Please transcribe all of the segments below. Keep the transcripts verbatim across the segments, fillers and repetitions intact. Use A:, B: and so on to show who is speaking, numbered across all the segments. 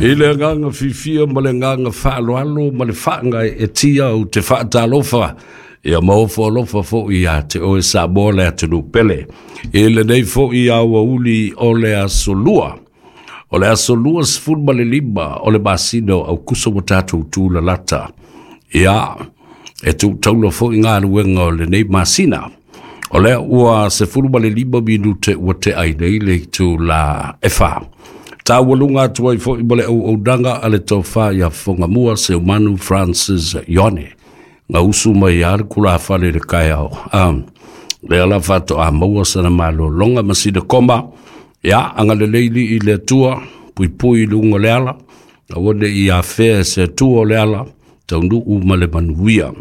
A: I le agaga fiafia ma le agaga faaaloalo ma le faaga e tia ou te faatalofa ia ma ofo alofa fo'i ia te oe Samoa le atunuu pele. I lenei fo'i aoauli o le aso Lua. O le aso lua sefulu ma le lima o le masina o Aukuso ua tatou tulalata. Ia, e tuutaula fo'i galuega o lenei masina. O lea ua sefulu ma le lima minute ua tea ai nei le itula e fa. Taualuga atu ai fo'i ma le auaunaga a le tofa ia Fogamua Seumanu Francis Ione. Gausu mai a le kulafale i le kaeao. Um, lea la faatoa maua sana malologa ma sina koma. Ia, agalelei lii i le Atua, puipui i luga o le ala, aua ne i afea e se Atua o le ala, taunuu ma le manuia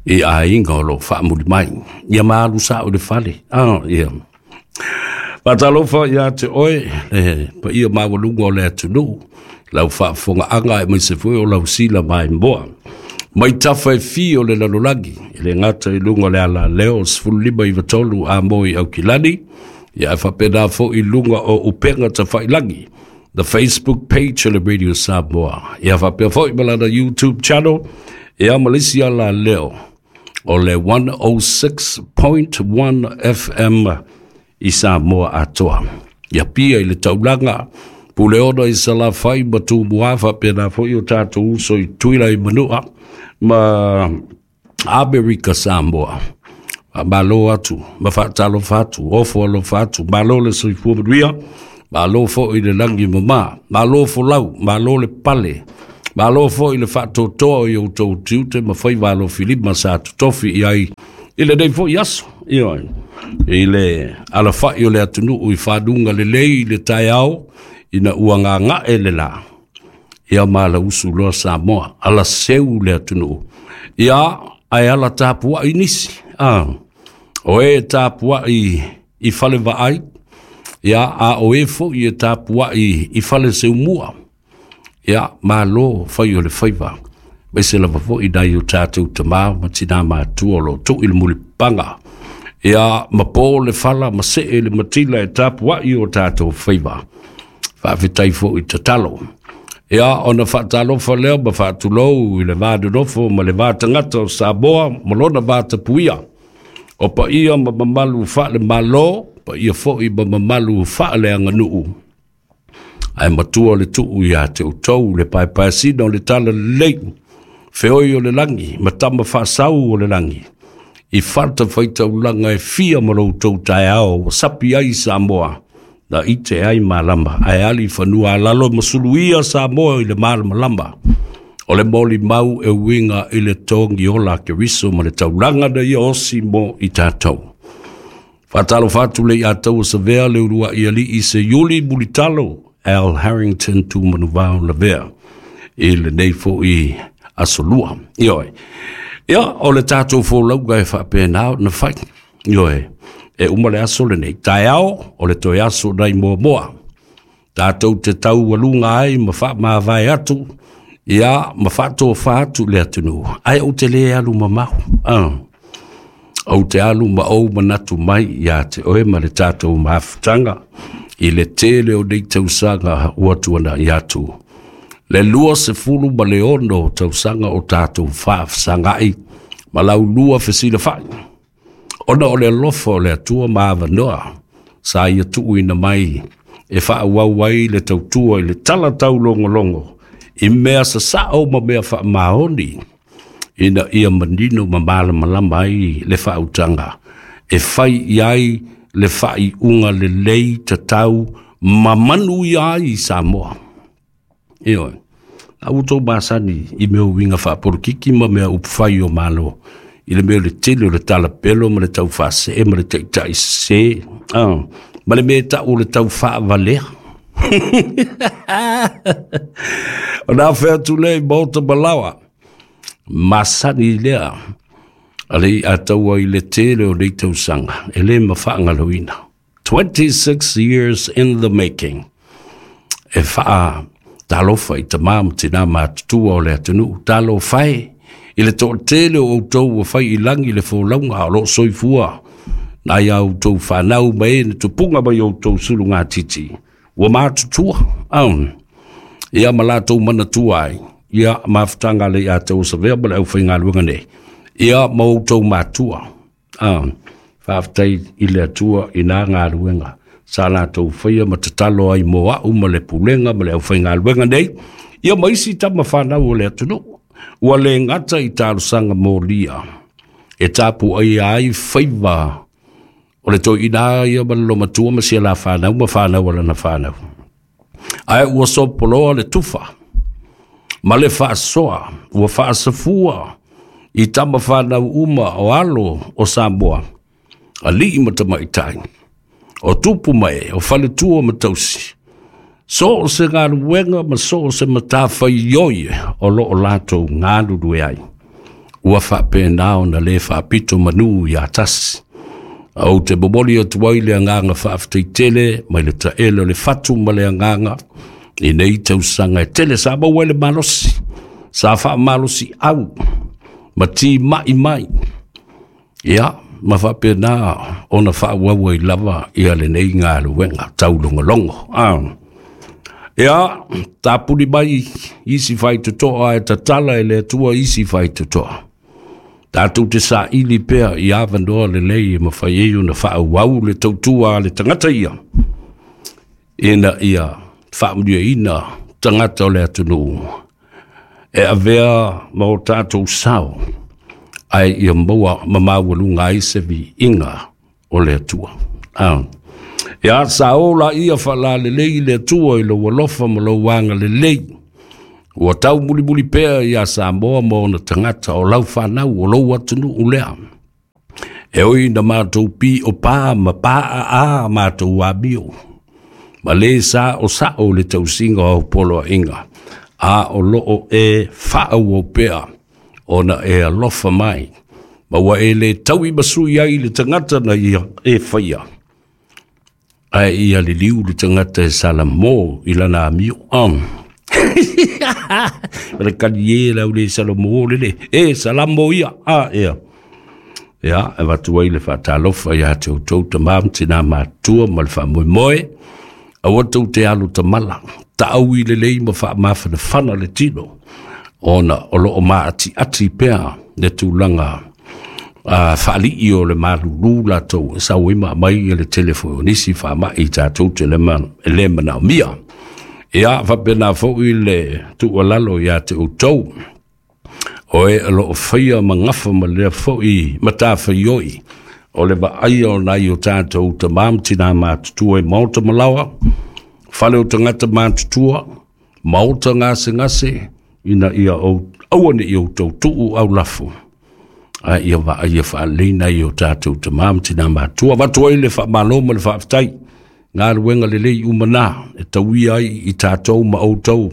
A: i aiga o lo faamuli mai. Ia maalu sao i le fale. Ah, ia. Faatalofa ia te oe, le paia maualuga o le atunuu, lau faafofogaaga aemaise foi o lau sila maimoa. Mai tafa e fia o le lalolagi, e le gata i luga o le alaleo sefulu lima iva tolu a moi Aukilani, ia e faapena fo'i i luga o upega tafailagi, the Facebook page o le Radio Samoa. Ia faapea foi ma lana YouTube channel, ia ma le isi alaleo o le one oh six point one F M i Samoa atoa. Ia pia i le taulaga, Puleono i Salafai ma Tumua faapena foi o tatou uso i Tuila i Manua ma Amerika Samoa. Malo atu, ma faatalofa atu, ofo alofa atu, malo le soifua manuia, malo foi le lagi mama, malo folau, malo le pale, malo foi le faatotoa o i outou tiute ma faiva alofilima sa totofi i ai i lenei foi aso. Ioe. I le alafai o le atunuu i fanuga lelei i le taeao ina ua gagae le la. Ia malausu loa Samoa, ala seu le atunuu. Ia, ae ala tapuai nisi. Ah, o e tapuai i fale vaai, ia, a o e foi e tapuai i fale seumua. Ia, malo fai o le faiva. Aemaise lava fo'i nai o tatou tamā ma tinā matua o lo o tuu i le mulipapaga. Ia, ma po le fala ma see le matila e tapuai o tatou faiva. Faafetai fo'i tatalo. Ia, ona faatalofa lea ma faatulou i le va nonofo ma le va tagata o Samoa ma lona va tapuia. O paia ma mamalu faale-Malo, paia fo'i ma mamalu faaleaganuu. Ae matua le tuu ia te outou le paepaeasina o le talalelei, feoi o le lagi, ma tama faasau o le lagi. I fatafaitaulaga e fia ma lo outou taeao ua sapi ai Samoa, na ite ai malama, ae ali fanua alalo ma suluia Samoa i le malamalama. O le molimau e uiga i le togi ola a Keriso ma le taulaga na ia osi mo i tatou. Faatalofa atu le ia taua savea le uluai alii Seiuli Mulitalo Al Harrington Tumanuvao Lavea i lenei fo'i aso Lua. Ioe. Ia, o le tatou folauga e faapena ona fai. Ioe. E uma le aso lenei. Taeao, o le toe aso nai muamua. Tatou te taualuga ai ma faamavae atu, ia ma faatofa atu le atunuu. Ae ou te le alu mamao. Ah. Ou te alu ma ou manatu mai ia te oe ma le tatou mafutaga i le tele o nei tausaga ua tuana'i atu. Le lua sefulu ma le ono tausaga o tatou faafesaga'i ma laulua fesilafa'i. Ona o le alofa o le Atua ma avanoa sa ia tuuina mai e faaauau ai le tautua i le tala taulogologo i mea sasao ma mea faamaoni ina ia manino ma malamalama ai le faautaga e fai i ai le faaiuga lelei tatau ma manuia ai Samoa. Ioe. A ua outou masani i mea uiga faapolokiki ma mea upufai o Malo i le mea o le tele o le talapelo ma le taufaasee ma le taitai sese, ah, ma le mea e tau o le taufaavalea. Ona afe atu lea i maota malaoa, masani lea a le iataua i le tele o nei tausaga e le mafaagaloina. twenty-six years in the making. E faa talofa i tamā ma tinā matutua o le atunuu. Talofa e i le toatele o outou ua fai i lagi le folauga o loo soifua nai a outou fanau ma e na tupuga mai outou sulugatiti ua matutua. Um, Ia ma latou manatua ai, ia mafutaga le ia te osavea ma le aufaigaluega nei, ia ma outou matua. Ah, faafetai i le Atua i nā galuega sa latou faia ma tatalo ai mo a'u ma le pulega ma le aufaigaluega nei, ia ma isi tama fanau o le atunuu. Ua le gata i talosaga molia e tapuaia ai faiva o le toeaina ia ma le lomatua ma sia la fanau ma fanau a lana fanau, ae ua sopoloa le tufa ma le faasoa ua faasafua i tama fanau uma o alo o Samoa, alii ma tamaitai, o tupu mae, o faletua ma tausi, so o se galuega ma so o se matafaioi o loo latou galulue ai. Ua faapena ona lē faapito manu iā tasi. Ou te momoli atu ai le agaga faafetai tele mai le taele o le fatu ma le agaga i nei tausaga e tele sa maua ai le malosi, sa faamalosi au ma timai mai, ia ma faapena ona faaauau ai lava ia lenei galuega taulogologo. Ah. Ia, tapuni mai isi faitotoa e tatala e le Atua isi faitotoa. Tatou te saili pea i avanoa lelei e mafai ai ona faaauau le tautua a le tagata ia, ina ia faamanuiaina tagata o le atunuu e avea ma o tatou sao, ae ia maua ma maualuga ai se viiga o le Atua. Ah. Ia sa o la ia faalalelei le Atua i lou alofa ma lou agalelei. Ua tau mulimuli pea ia Samoa ma ona tagata o lau fanau o lou atunuu lea. E oi na matou pi o pā ma pā a a matou amio. Ma le sa o sao le tausiga o poloaiga, a o loo e faaauau pea ona e alofa mai. Ma ua e le taui masui ai le tagata na ia e faia, ae ia liliu le tagata e salamo i lana amio. Um. Ma le kali e lau le salamo lele. E salamo ia. A ia. Ia, e avatu ai le faatalofa ia te outou tamā ma tinā matua ma le faamoemoe. Aua tou te alu tamala. Taau i lelei ma faamafanafana le tino, ona o loo maatiati pea le tulaga uh, faalii o le malulū latou e sau ai ma aumai le tele foi o nisi faamai tatou te le e le manaomia. Ia faapena foi le tuualalo ia te outou o e o loo faia ma gafa ma lea foi matafaioi o le vaaia o nai o tatou tamā ma tinā matutua i maota malaoa, fale o tagata matutua, maota gasegase, ina ia aua ne i outou tuu aulafo, a ia vaaia faalelei nai o tatou tamā ma tinā matua. Avatu ai le faamalo ma le faafetai, galuega lelei uma na e tauia ai i tatou ma outou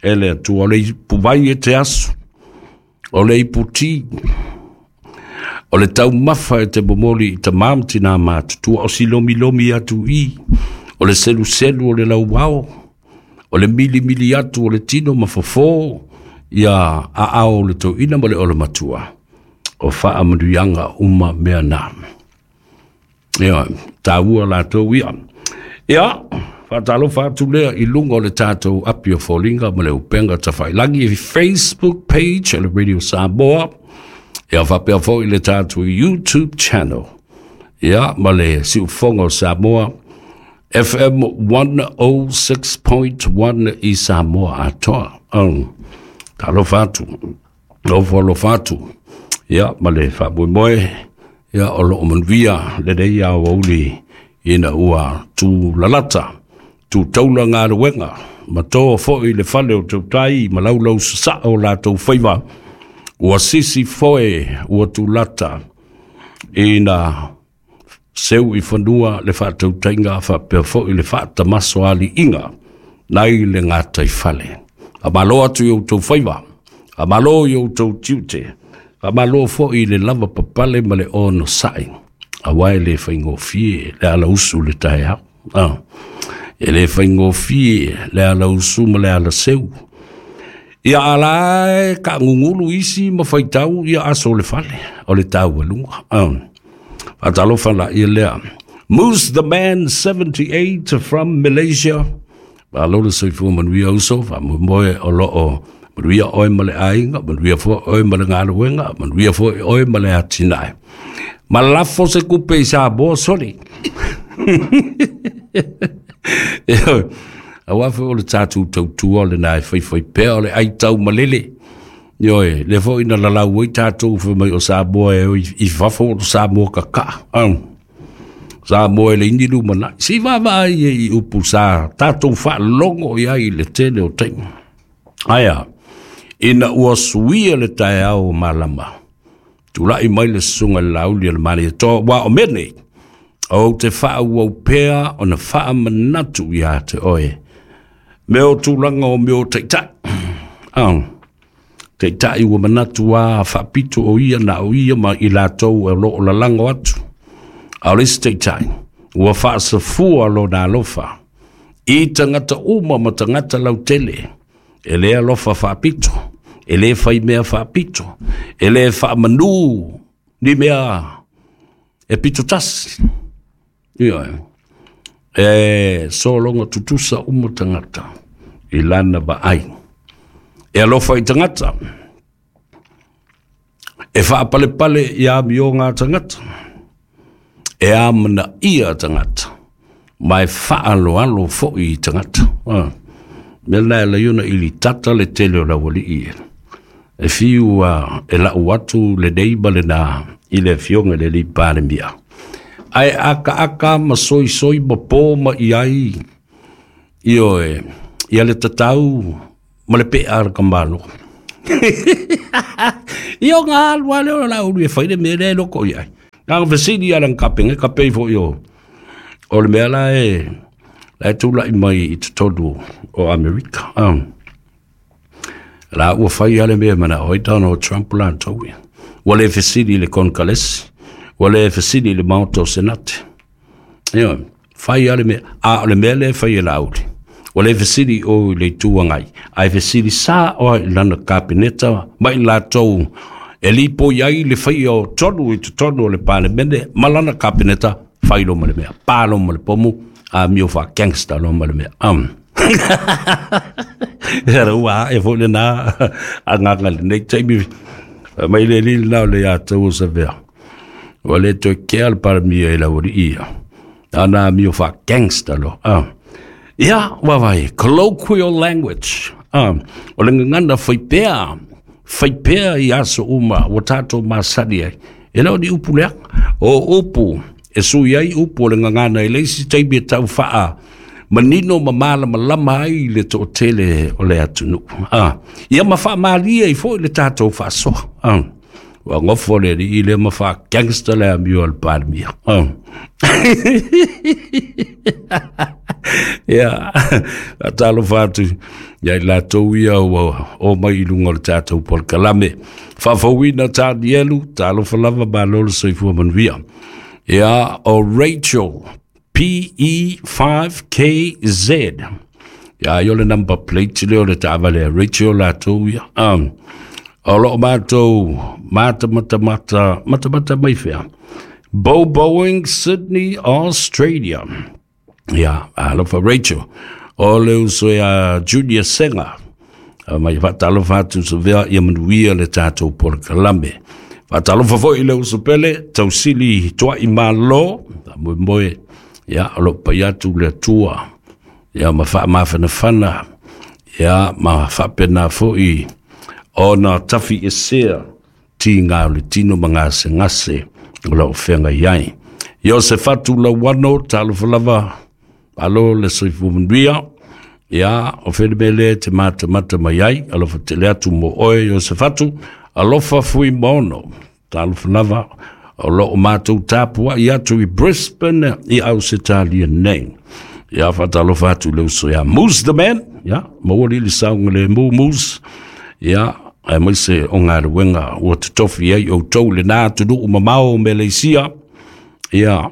A: e le Atua. O le ipuvai e te aso, o le iputi, o le taumafa e te momoli i tamā ma tinā matutua, o silomilomi atu i, o le seluselu o le lauao, o le milimili atu o le tino ma fofo ia aao o le toeaina ma le olomatua, o faamanuiaga uma mea na. Ia, taua latou ia. Ia, faatalofa atu lea i luga o le tatou api o foliga ma le upega tafailagi i Facebook page o le Radio Samoa, ia faapea foi le tatou YouTube channel, ia ma le Siufoga o Samoa F M one oh six point one i Samoa atoa. Um, talofa atu, ofo alofa atu, ia ma le faamoemoe, ia o loo manuia lenei aoauli ina ua tulalata, tutaula galuega, ma toa foi le fale o tautai ma laulau sasaa o latou faiva. Ua sisi foe ua tulata ina seu i fanua le faatautaiga faapea foi le faatamaso aliiga nai le gatai fale. Faamalo atu i outou faiva, faamalo i outou tiute, faamalo foi i le lava papale ma le onosai, auā e le faigofie le alausu le taeao. Ah. E le faigofie le alausu ma le alaseu. Ia ala e kaagugulu isi ma faitau ia aso o le fale, o le taualuga. Ah. Faatalofa la ia lea. Moose the Man seventy-eight from Malaysia. Malo le soifua manuia uso, faamoemoe o loo manuia oe ma le aiga, manuia foi oe ma le galuega, manuia foi oe ma le atinae. Ma lafo se kupe i Samoa soli. Aua foi o le tatou tautua o lena e faifai pea o le aitau malele. Ioe, le foi na lalau ai tatou fai mai o Samoa e i fafo o Samoa kakaa. Samoa e leai ni lumanai. Se i vaavaai i upu sa tatou faalogo i ai i le tele o taimi. Aia, ina ua suia le taeao o malama, tulai mai le susuga i le Laauli a le Malietoa, ua o mea nei, ou te faaauau pea ona faamanatu ia te oe mea o tulaga o mea o taitai. Ah, taitai ua manatu a faapito o ia na o ia ma i latou e loo lalago atu. A o le isi taitai ua faasafua lona alofa i tagata uma ma tagata lautele, e le alofa faapito, e le faimea faapito, e le faamanu ni mea e pito tasi. Ioe, e sologa tutusa uma tagata i lana vaai. E alofa i tagata, e faapalepale i amioga a tagata, e amanaia tagata, ma e faaloalo foi i tagata. Ah. Mea lena e lai ona ilitata le tele o laualii e. E fiu uh, e lau atu lenei ma lena i le afioga i le alii Palemia. Ae akaaka ma soisoi ma po ma i ai, ioe, ia le tatau ma le pea a le kamalo. Ia o ngā alu ale o la ulu e fai le mea lea e loko i ai. Nā nga fesili ala nga kapenga, kapei foi o, o le mea la e, la e tūlai mai i totonu o Amerika. Um, la ua fai ale mea mana oi Donald Trump la tau ia. Ua le fesili i le Konkalesi, ua le fesili i le Maota o Senate. Ioe, fai ale mea, a o le mea lea e fai e Laauli. Ua le fesili o i le itu agai, ae fesili sa oa i lana kapeneta ma i latou e lipoi ai le faia o tonu i totonu o le Palemene ma lana kapeneta, fai lo ma le mea, pa lo ma le pomu, a mio fa gangster lo ma le mea. Um. Ia ua e foi lena agaga lenei taimi mai le alii lena o le ia tau o Savea. Ua le toe kea le Palemia i laualii ia. Ana mio fa gangster lo. Ah. Ia, vaavaai, colloquial language. Ah, o le gagana faipea, faipea i aso uma ua tatou masani ai. E le o ni upu leaga. O upu, e sui ai upu o le gagana i le isi taimi e tau faa manino ma malamalama ai le toatele o le atunuu. Ah, ia ma faamalie ai foi le tatou faasoa. Ah, ua gofo le alii lea ma faa gangster le amio a le Palemia. Ah. Ia, faatalofa atu ia i latou ia ua o mai i luga o le tatou polokalame. Faafouina Tanielu, talofa lava malo le soifua manuia. Ia, o Rachel P E five K Z. Ia, ai o le number plate lea o le taavale a Rachel latou ia. Um, o loo matou mata mata mata mata mata mai fea. Bo Boeing, Sydney, Australia. Ia, alofa Rachel. O le uso ia Junior Senga. Mai faatalofa atu Savea ia manuia le tatou polokalame. Faatalofa foi i le uso pele, tausili tuai malo, moemoe, ia, o loo pai atu le Atua, ia, ma faamafanafana, ia, ma faapena foi ona tafi esea tiga o le tino ma gasegase o loo feagai ai. Iosefatu Lauano, talofa lava, alo le soifua manuia. Ia, o felemele te matamata mai ai, alofa tele atu mo oe Iosefatu, alofa fui maono, talofa lava, o loo matou tapuai atu i Brisbane i Ausetalia nei. Ia, faatalofa atu le uso ia Moose the Man, ia, maua lili saoga le mu Moose, ia, aemaise o galuega ua totofi ai outou lena atunuu mamao o Meleisia, ia,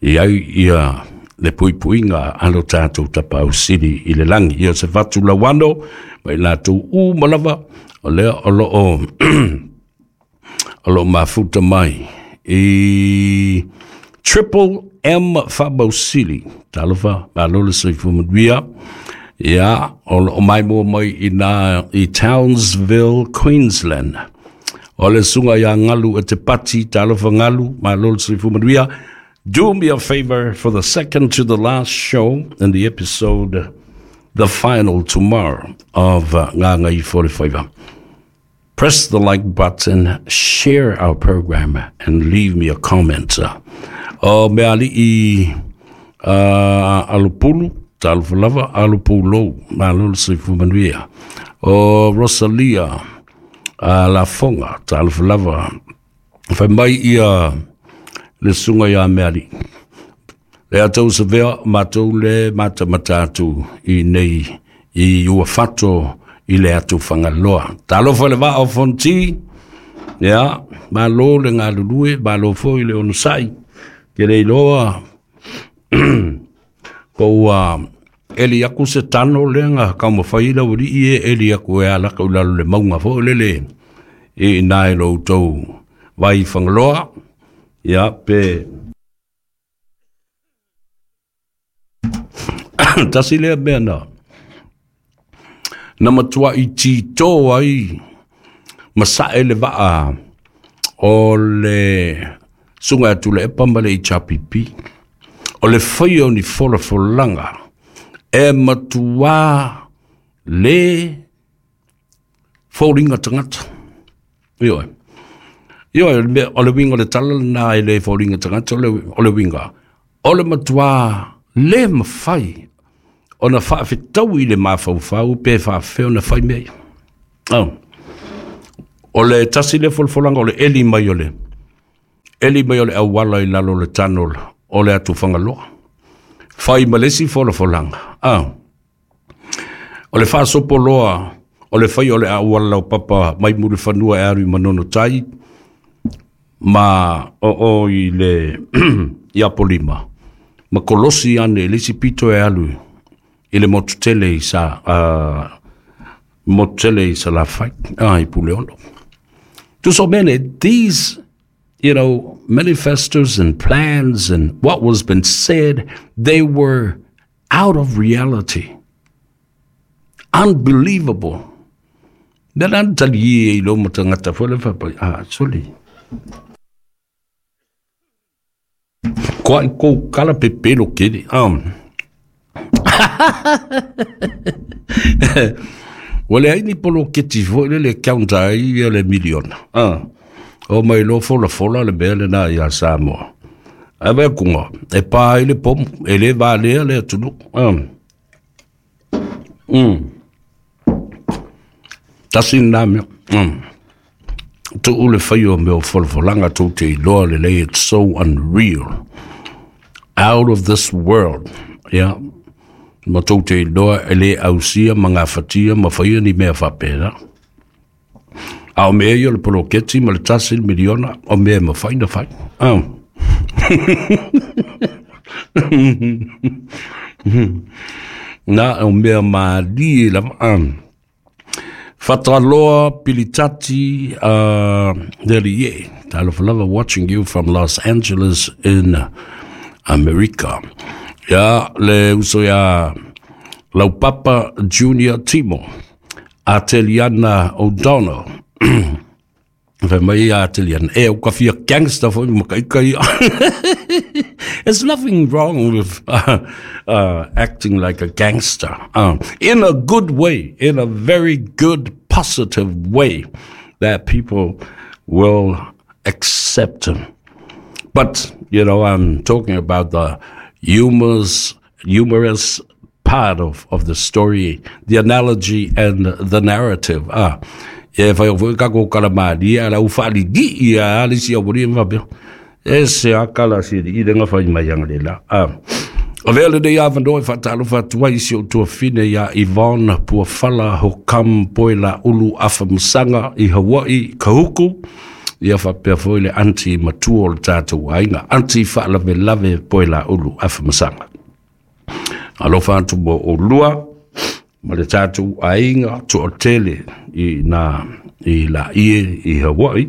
A: i ai ia le puipuiga a lo tatou tapausili i le lagi. Ia se fatu lauano ma i latou uma lava o lea o loo o loo mafuta mai i Triple M. Faamausili, talofa, malo le soifua manuia. Ia, o lo o maimoa mai i na i Townsville, Queensland. O le susuga ia Galu e te pati, talofa Galu, malo le soifua manuia. Do me a favor for the second to the last show in the episode, the final tomorrow of uh, Gagaifo. Press the like button, share our program, and leave me a comment. O Meali'i uh, Alupulu, talofa lava, Alupulou, malo le soifua manuia. O Rosalia uh, Lafoga, talofa lava. Fai mai ia le susuga ia Meali'i. Le atou savea, matou le mata matatu i nei i ua fato i le atu Fagaloa. Talofa le vaa o Fonti, ia, malo le galulue, malo foi le onosai, ke le iloa, po ua eli aku se tano lea taumafai lau alii e eli aku e alaka i lalo le mauga foi lele i ina e lo outou vai Fagaloa, ia, pe tasi lea mea na na matuai titō ai ma sa'e le vaa o le susuga ia Tuilaepa ma le H R P P o le faia o ni folafolaga e matuā le foliga tagata. Ioe, ioe, o le uiga o le tala lena e le foliga tagata, o le, o le uiga o le matuā le mafai ona faafetau i le mafaufau pe faafefea ona fai mea ia. Oh. O le tasi le folafolaga o le eli mai o le eli mai o le auala i lalo o le tano o le atu Fagaloa. Fai ma le isi folafolaga. Ah. O le faasopoloa o le fai o le auala laupapa mai Mulifanua e alu i Manono Tai ma o o i le i Apolima. Ma kolosi ane le isi pito e alu i le motu tele i sa uh, motu tele i Salafai, ah, i Puleono. To so many, these, you know, manifestos and plans and what was been said, they were out of reality. Unbelievable. Mea la na tali e i lo matagata foi le fapai, ah, soli. Koa i kou kala pepelo kere. Um. Ua leai ni poloketi foi le le counter ai ia le miliona. Ah. O mai lo folafola le mea lena ia Samoa. Ae vai kuga, e pā ai le pomu, e le valea le atunuu. Ah. Mm. Tasi lena mea. Mm. Tuu le fai o mea o folafolaga tou te iloa lelei, it's so unreal. Out of this world. Yeah. Ma tou te iloa e le ausia ma gafatia ma faia ni mea faapena. A o mea ia o le poloketi ma le tasi le miliona o mea e mafai na fai. Ah. Na o mea malie lava. Ah. Fataloa Pilitati uh, Delie. Talofa lava, watching you from Los Angeles in America. Ya le uso ia Laupapa Junior Timo. Ateliana O'Donnell. Fai mai ia Ateliana, e o ka fia gangster foi ma kai kai. There's nothing wrong with uh, uh, acting like a gangster. Uh, in a good way, in a very good, positive way that people will accept him. But, you know, I'm talking about the humorous, humorous part of, of the story, the analogy and the narrative. Ah, e fai o foi kako kala malia, la ufali di ia, ali si au ma faapea. E se akala si i lenga fai mai anga le la. Ah. O vea lenei avanoa e faatalofa atu ai si ou tuafine ia Yvonne Puafala Hokam Poe Laulu Afamasaga i Hawaii Kahuku. Ia faapea foi le aunty matua o le tatou aiga. Aunty Faalavelave Poe Laulu Afamasaga. Alofa atu mo oulua ma le tatou aiga toatele i na i Laie i Hawaii.